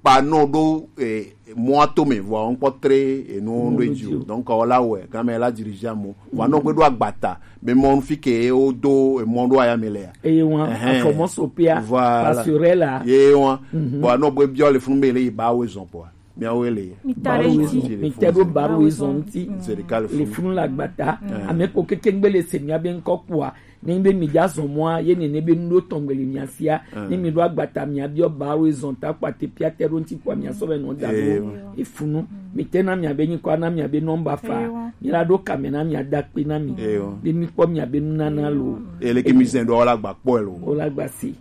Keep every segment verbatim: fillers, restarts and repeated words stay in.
kpa nɔ ɖo eh, mɔa to me vɔa ŋkpɔ tre enu ɖo edzi o. Donc ɔ la wɛ game la dirige amewo vɔa nɔ gbe ɖo agbata be mɔ fi ke wo do emɔ ɖo aya me le ya. Eye wọn Ɛhɛn. Afɔmɔ sopia Voilà. Passerelle a. Ye wọn Mhm. Bon anɔ gbe biɔ le funu be le yi ba wo zɔn kpɔa miawo le Mi ta ɖe Baro ŋuti. Horizon, mi te ɖo Baro Horizon ŋuti. Zerika le Le funu. Funu le agbata. Ame ko keke gbe le se mia be ŋkɔ kpɔa ne be mi dza zɔn mɔa ye nene be nu ɖo tɔn gbe le mia sia. Ne mi ɖo agbata mia biɔ Baro Horizon ta kpate pia te ɖo ŋti kpɔa mia sɔ be nɔ da ɖo efunu. Mi te na mia be nyikɔ na mia be nɔmba fa. Ewa. Mi la ɖo kame na mia da kpe na mi. Ewa. Be mi kpɔ mia be nunana lo. Eleke mi zɛn ɖo wala gba kpɔ lo. Wala gba si.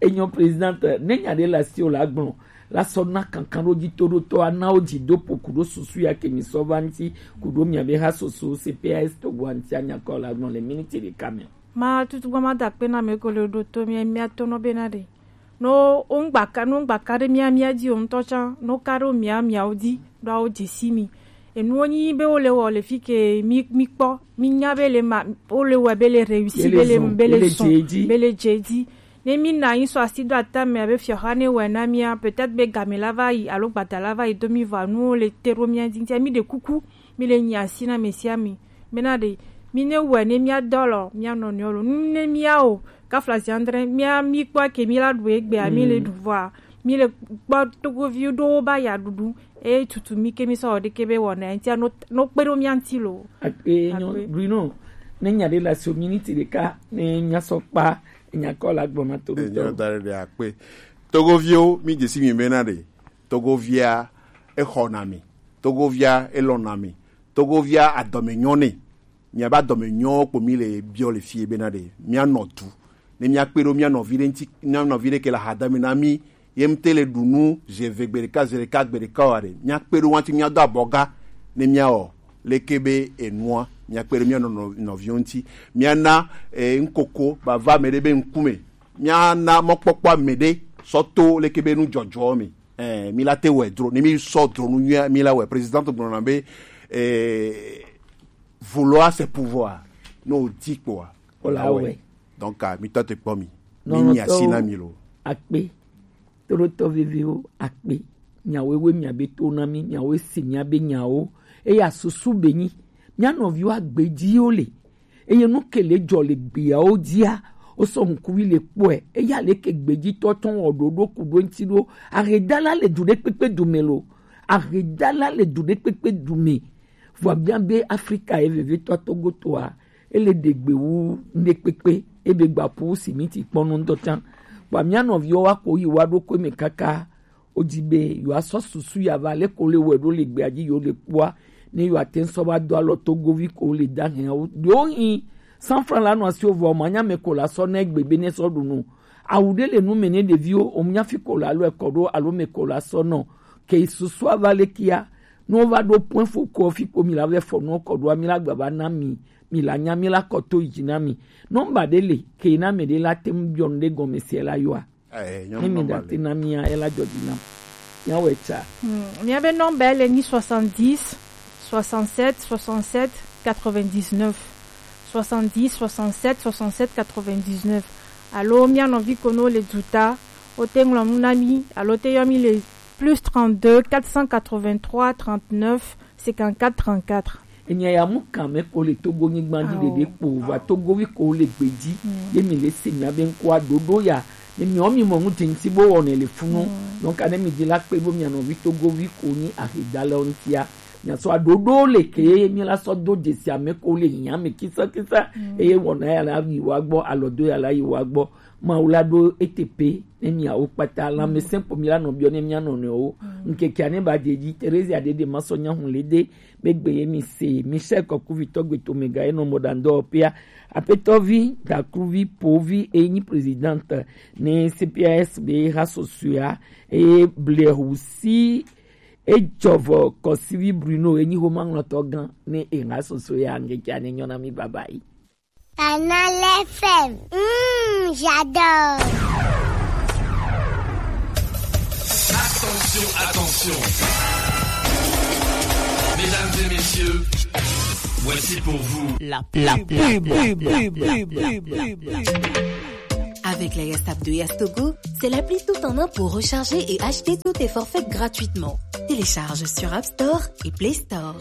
Enyo présidente ne nya ɖe la si o la gblɔ. La sɔ na kankanɖodzitoɖotɔ anawo dzidopo kuɖo susu ya ke mi sɔ va ŋti kuɖo miabe ha soso C P A S Togo ŋti anyakɔ la gbɔn le miniti ɖeka me. Ma tutu gbɔ ma da akpe na mi ko le ɖo to mia mia to nɔ be na ɖe. No ŋgbaka no ŋgbaka ɖe mia mia dzi o ŋutɔ tsã no ka ɖo mia miawo dzi ɖo awo dze si mi. Enuwo nyi be wo le wɔ le fi ke mi mi kpɔ mi nya be le ma wo le wɔ be le réussi be le be le zɔn be le dze dzi. Ne mi na anyi sɔ asi ɖo ata me abe fiɔxa ne wɔe na mia, peut-être be game la va yi alo gbada la va yi do mi vɔ anuwo le te ɖo mia dzi ŋutia mi ɖe kuku mi le nyi asi na ame sia ame bena ɖe mi ne wɔe ne mia dɔ lɔ mia nɔnɔewo lo nu ne mia o kafla zi andre mia mi kpɔ ke mi la ɖu egbea mi le ɖu vɔa mi le kpɔ togovi ɖowo ba ya ɖuɖu eye tutu mi ke mi sɔ wɔ ɖeke be wɔna ŋutia no no kpe ɖo mia ŋuti lo. Akpe nyo Akpe. Bruno, ne nya ɖe le asi o miniti ɖeka ne mia sɔ kpa. Enya kɔ la gblɔ na to ɖo Enyo tɔ. Da ɖe ɖe akpe. Togoviwo mi dze si mi bena ɖe togovia exɔ na mi, togovia elɔ na mi, togovia adɔme nyɔ ne. Miabe adɔme nyɔ kpo mi le biɔ le fie bena ɖe mia nɔ du ne mia kpe ɖo mia nɔvi ɖe ŋti mia nɔvi ɖe ke le ahadame na mi ye ŋte le ɖu nu ze eve gbe ɖeka ze ɖeka gbe ɖeka wa ɖe mia kpe ɖo wanti mia do abɔga ne mia wɔ leke be enua mia kpe ɖo mia nɔ nɔ- nɔviwo ŋti mia na eh, ŋkoko bava ame ɖe be ŋkume mia na mɔkpɔkpɔ ame ɖe sɔ to leke be nu dzɔdzɔ me eh, mi la te wɛ dro ne mi sɔ dro nu nyuia mi la wɛ président gblɔ na be eh, vouloir c'est pouvoir no di kpɔa Wala wɛ. Donc ah, mi tɔ te kpɔ mi mi nyi asi na mi lo. Akpe. Toɖotɔ viviwo akpe. Nyawo ewe miabe to na mi nyawo esi miabe nyawo. Eya susu be nyi mia nɔviwo agbedziwo le. Eye nu ke le dzɔ le gbeawo dzia wosɔ ŋkuvi le kpɔe. Eya le ke gbedzitɔ tɔn wɔ ɖoɖo ku ɖo ŋti ɖo. Ahedala le du ɖe kpekpe du me lo. Ahedala le du ɖe kpekpe du me. Vɔa bia be Afrika ye vevetɔ Togotoa ele ɖe gbe wu ŋɖe kpekpe ebe gba ƒu simiti kpɔnu ŋutɔ tsã. Vɔa mia nɔviwo wa ko yi wa ɖo koe me kaka wodzi be yewoasɔ susu ya va leke wole wɔe ɖo le gbea dzi yewo le kpɔa ne yewoate ŋu sɔ va do alɔ togovi ko le da hɛawo ɖewo hi san fran la nɔ asiwo vɔ manya me ko la sɔ ne gbe be ne sɔ ɖu nu awu ɖe le nu me ne ɖeviwo o nya fi ko la lɔ ekɔ ɖo alo me ko la sɔ nɔ ke susua va le kia ne wova ɖo point fo ko fi ko mi la vɛ fɔ nu kɔ ɖoa mi la gba va na mi mi la nya mi la kɔ to yi dzi na mi nɔmba ɖe le ke na me ɖe la te ŋu biɔ nu ɖe gɔme se la yɔa Eh, ne mi nyɔnu ɖa te na mia ela dzɔ dzi nam. Miawo etsa. Hmm, miabe nɔmba ele nyi soixante-dix, soixante-sept, soixante-sept, quatre-vingt-dix-neuf. Soixante-dix, soixante-sept, soixante-sept, quatre-vingt-dix-neuf. Alo mia nɔvi kono le duta, o te ŋlɔ nu na mi, alo te yɔ mi le plus trente-deux, quatre cent quatre-vingt-trois, trente-neuf, cinquante-quatre trente-quatre. Enya ya mu kan me ko le Togo nyigba dzi ɖeɖe kpo va Togovi ko le gbe dzi ye mi le se mia be ŋkɔa ɖoɖo ya ne miɔ mi mɔ ŋu dze ŋti bo wɔnɛ le funu. Donc ne mi dzi la kpe bo mia nɔvi Togovi ko nyi ahedalawo ŋtia mia sɔ aɖoɖo le ke ye mi la sɔ do dzesi ame ko le hiã me kisa kisa eye wɔna ya la yi wa gbɔ alɔdo ya la yi wa gbɔ Mawu la ɖo ete pe ne miawo kpata lãmesẽ kpo mi la nɔ biɔ ne mia nɔnɔewo. Ŋkekea ne ba dze dzi Terezia ɖeɖe ma sɔ nya hu le de be gbe ye mi se Michel Kɔkuvitɔ gbe to mega ye nɔ mɔ ɖandɔ pia apetɔvi dakruvi povi e nyi présidente ne C P A S be ha sosoea e blehu si e dzɔvɔ kɔsivi Bruno e nyi homaŋlɔtɔ gã ne e ha sosoea ŋkekea ne nyɔ na mi baba yi. Canal F M. Mmh, j'adore. Attention, attention. Mesdames et messieurs, voici pour vous la pub. La pub. Avec la Yas App de Yas Togo, c'est l'appli tout en un pour recharger et acheter tous tes forfaits gratuitement. Télécharge sur App Store et Play Store.